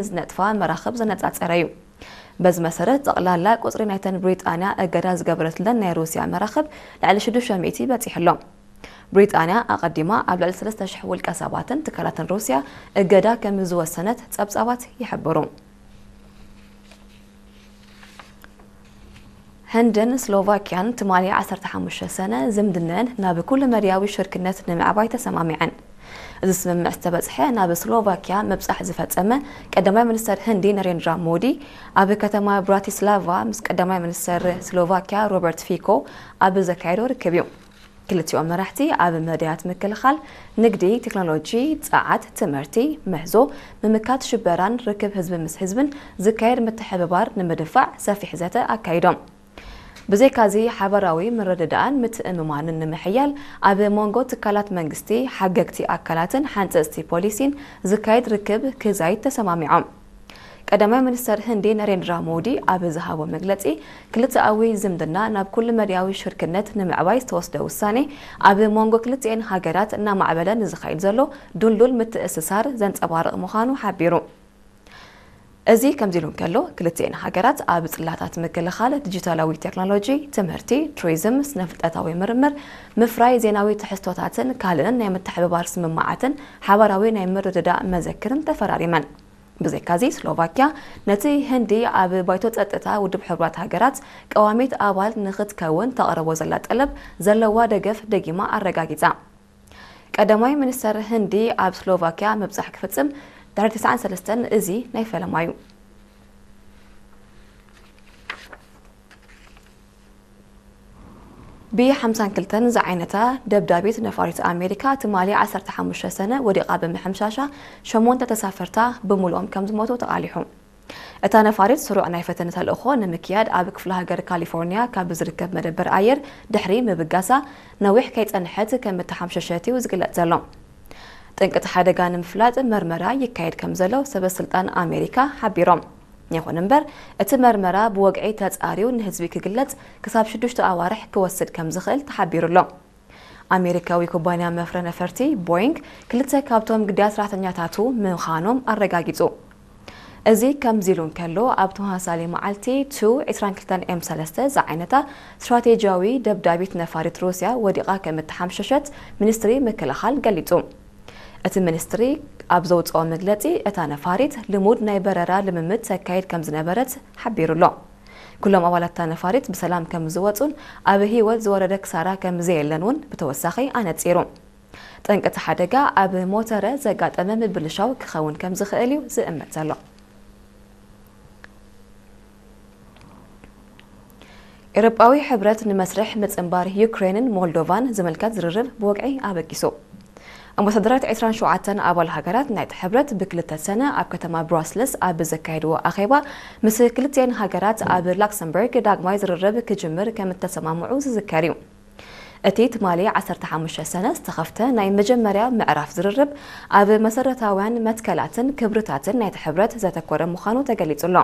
ዝነጥፋ መራኽብ ዘነጻጸረ እዩ። በዚ መሰረት፣ ጠቕላላ ቁጽሪ ናይተን ብሪጣንያ እገዳ ዝገበረትለን ናይ ሩስያ መራኽብ ልዕሊ ሽዱሽተ ሚእቲ በጺሑ ኣሎ። ብሪጣንያ ኣቐዲማ ኣብ ልዕሊ ሰለስተ ሽሕ ውልቀ ሰባትን ትካላትን ሩስያ እገዳ ከም ዝወሰነት ጸብጻባት ይሕብሩ። ህንድን ስሎቫኪያን ትማሊ ዓሰርተ ሓሙሽተ ሰነ ዝምድነን ናብ ኩሉ መድያዊ ሽርክነት ንምዕባይ ተሰማሚዐን። እዚ ስምምዕ ዝተበጽሐ፣ ናብ ስሎቫኪያ ምብጻሕ ዝፈጸመ ቀዳማይ ሚኒስተር ህንዲ ነሬንድራ ሞዲ፣ ኣብ ከተማ ብራቲስላቫ ምስ ቀዳማይ ሚኒስተር ስሎቫኪያ ሮበርት ፊኮ ኣብ ዘካየዶ ርክብ እዩ። ክልቲኦም መራሕቲ ኣብ መዳያት ምክልኻል፣ ንግዲ፣ ቴክኖሎጂ፣ ጸዓት፣ ትምህርቲ፣ ምህዞ፣ ምምካት ሽበራን ርክብ ህዝቢ ምስ ህዝብን ዝካየድ ምትሕብባር ንምድፋዕ ሰፊሕ ዘተ ኣካይዶም። ብዘይካዚ፣ ሓበራዊ ምርድዳእን ምትእምማንን ንምሕያል፣ ኣብ መንጎ ትካላት መንግስቲ፣ ሓገግቲ ኣካላትን ሓንጸጽቲ ፖሊሲን ዝካየድ ርክብ ክዛይድ ተሰማሚዖም። ቀዳማይ ሚኒስተር ህንዲ ነሬንድራ ሞዲ ኣብ ዝሃቦ መግለጺ፣ ክልተኣዊ ዝምድና ናብ ኩሉ መድያዊ ሽርክነት ንምዕባይ ዝተወስደ ውሳኔ፣ ኣብ መንጎ ክልቲኤን ሃገራት እናማዕበለ ንዝኸይድ ዘሎ ድልዱል ምትእስሳር ዘንጸባርቕ ምዃኑ ሓቢሩ። እዚ ከምዚ ኢሉ እንከሎ፣ ክልቲኤን ሃገራት ኣብ ጽላታት ምክልኻል፣ ዲጂታላዊ ቴክኖሎጂ፣ ትምህርቲ፣ ቱሪዝም፣ ስነ-ፍልጠታዊ ምርምር፣ ምፍራይ ዜናዊ ትሕዝቶታትን ካልእን ናይ ምትሕብባር ስምምዓትን ሓባራዊ ናይ ምርድዳእ መዘክርን ተፈራሪመን። ብዘይካዚ፣ ስሎቫኪያ ነቲ ህንዲ ኣብ ባይቶ ጸጥታ ውድብ ሕቡራት ሃገራት ቀዋሚት ኣባል ንኽትከውን ተቕርቦ ዘላ ጠለብ ዘለዋ ደገፍ ደጊማ ኣረጋጊጻ። ቀዳማይ ሚኒስተር ህንዲ ኣብ ስሎቫኪያ ምብጻሕ ክፍጽም ድሕሪ ተስዓን ሰለስተን፣ እዚ ናይ ፈለማ እዩ። ቢ ሓምሳን ክልተን ዝዓይነታ ደብዳቢት ነፋሪት ኣሜሪካ ትማሊ ዓሰርተ ሓሙሽተ ሰነ ወዲቓ ብምሕምሻሻ፣ ሸሞንተ ተሳፈርታ ብምሉኦም ከም ዝሞቱ ተቓሊሑ። እታ ነፋሪት ስሩዕ ናይ ፈተነ ተልእኾ ንምክያድ ኣብ ክፍለ ሃገር ካሊፎርኒያ ካብ ዝርከብ መደበር ኣየር ድሕሪ ምብጋሳ፣ ነዊሕ ከይጸንሐት ከም እተሓምሸሸት እዩ ዝግለጽ ዘሎ። ጠንቂ እቲ ሓደጋ ንምፍላጥ መርመራ ይካየድ ከም ዘሎ ሰበ ስልጣን ኣሜሪካ ሓቢሮም። ይኹን እምበር፣ እቲ መርመራ ብወግዒ ተጻርዩ ንህዝቢ ክግለጽ ክሳብ ሽዱሽተ ኣዋርሕ ክወስድ ከም ዝኽእል ተሓቢሩ ኣሎ። ኣሜሪካዊ ኩባንያ መፍረ ነፈርቲ ቦይንግ ክልተ ካብቶም ግዳያት ሰራሕተኛታቱ ምዃኖም ኣረጋጊጹ። እዚ ከምዚ ኢሉ እንከሎ፣ ኣብ ተመሳሳሊ መዓልቲ ቱ ዕስራን ክልተን ኤም ሰለስተ ዝዓይነታ ስትራቴጂያዊ ደብዳቢት ነፋሪት ሩስያ ወዲቓ ከም እተሓምሸሸት ሚኒስትሪ ምክልኻል ገሊጹ። እቲ ሚኒስትሪ ኣብ ዘውጽኦ መግለጺ፣ እታ ነፋሪት ልሙድ ናይ በረራ ልምምድ ተካይድ ከም ዝነበረት ሓቢሩ ኣሎ። ኩሎም ኣባላት እታ ነፋሪት ብሰላም ከም ዝወጹን ኣብ ህይወት ዝወረደ ክሳራ ከም ዘየለን እውን ብተወሳኺ ኣነጺሩ። ጠንቂ እቲ ሓደጋ ኣብ ሞተረ ዘጋጠመ ምብልሻው ክኸውን ከም ዝኽእል እዩ ዝእመት ዘሎ። ኤውሮጳዊ ሕብረት ንመስርሕ ምጽንባር ዩክሬንን ሞልዶቫን ዝምልከት ዝርርብ ብወግዒ ኣበጊሱ። ኣምባሳደራት ዕስራን ሸውዓተን ኣባል ሃገራት ናይቲ ሕብረት ብክልተ ሰነ ኣብ ከተማ ብራስልስ ኣብ ዘካየድዎ ኣኼባ፣ ምስ ክልቲኤን ሃገራት ኣብ ላክሰምበርግ ዳግማይ ዝርርብ ክጅምር ከም እተሰማምዑ ዝዝከር እዩ። እቲ ትማሊ ዓሰርተ ሓሙሽተ ሰነ ዝተኸፍተ ናይ መጀመርያ ምዕራፍ ዝርርብ፣ ኣብ መሰረታውያን መትከላትን ክብርታትን ናይቲ ሕብረት ዘተኮረ ምዃኑ ተገሊጹ ኣሎ።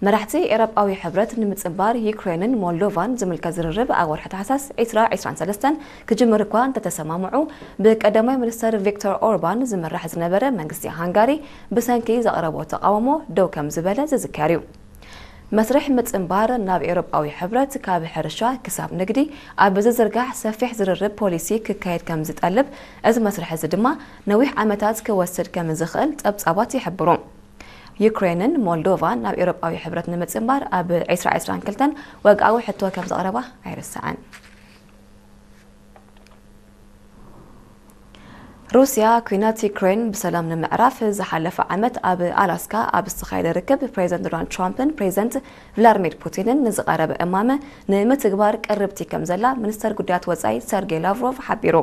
መራሕቲ ኤውሮጳዊ ሕብረት ንምጽንባር ዩክሬንን ሞልዶቫን ዝምልከት ዝርርብ ኣብ ወርሒ ታሕሳስ ዕስራ ዕስራን ሰለስተን ክጅምር እኳ እንተተሰማምዑ፣ ብቀዳማይ ሚኒስተር ቪክቶር ኦርባን ዝምራሕ ዝነበረ መንግስቲ ሃንጋሪ ብሰንኪ ዘቕረቦ ተቓውሞ ደው ከም ዝበለ ዝዝከር እዩ። መስርሕ ምጽንባር ናብ ኤውሮጳዊ ሕብረት፣ ካብ ሕርሻ ክሳብ ንግዲ ኣብ ዝዝርጋሕ ሰፊሕ ዝርርብ ፖሊሲ ክካየድ ከም ዝጠልብ፣ እዚ መስርሕ እዚ ድማ ነዊሕ ዓመታት ክወስድ ከም ዝኽእል ጸብጻባት ይሕብሩ። ዩክሬንን ሞልዶቫን ናብ ኤውሮጳዊ ሕብረት ንምጽንባር ኣብ ዕስራ ዕስራን ክልተን ወግዓዊ ሕቶ ከም ዘቕረባ ኣይርሳዕን። ሩስያ፣ ኲናት ዩክሬን ብሰላም ንምዕራፍ ዝሓለፈ ዓመት ኣብ ኣላስካ ኣብ ዝተኻየደ ርክብ፣ ፕሬዚደንት ዶናልድ ትራምፕን ፕሬዚደንት ቭላድሚር ፑቲንን ንዝቐረበ እማመ ንምትግባር ቅርብቲ ከም ዘላ ሚኒስተር ጉዳያት ወጻኢ ሰርጌይ ላቭሮቭ ሓቢሩ።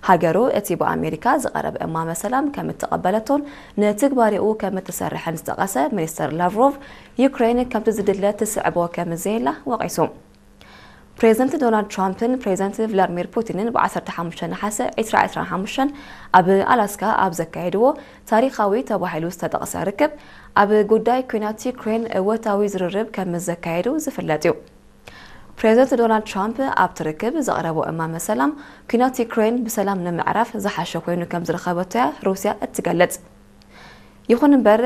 ሃገሩ እቲ ብኣሜሪካ ዝቐረበ እማመ ሰላም ከም እተቐበለቶን ንትግባሬኡ ከም እትሰርሕን ዝጠቐሰ ሚኒስተር ላቭሮቭ፣ ዩክሬን ከምቲ ዝድለ ትስዕቦ ከም ዘየላ ወቒሱ። ፕሬዚደንት ዶናልድ ትራምፕን ፕሬዚደንት ቭላድሚር ፑቲንን ብ ዓሰርተ ሓሙሽተ ነሓሰ ዕስራ ዕስራን ሓሙሽተን ኣብ ኣላስካ ኣብ ዘካየድዎ ታሪኻዊ ተባሂሉ ዝተጠቕሰ ርክብ፣ ኣብ ጉዳይ ኲናት ዩክሬን እወታዊ ዝርርብ ከም ዘካየዱ ዝፍለጥ እዩ። ፕሬዚደንት ዶናልድ ትራምፕ ኣብቲ ርክብ ዘቕረቦ እማመ ሰላም፣ ኲናት ዩክሬን ብሰላም ንምዕራፍ ዝሓሸ ኮይኑ ከም ዝረኸበቶ እያ ሩስያ እትገልጽ። ይኹን እምበር፣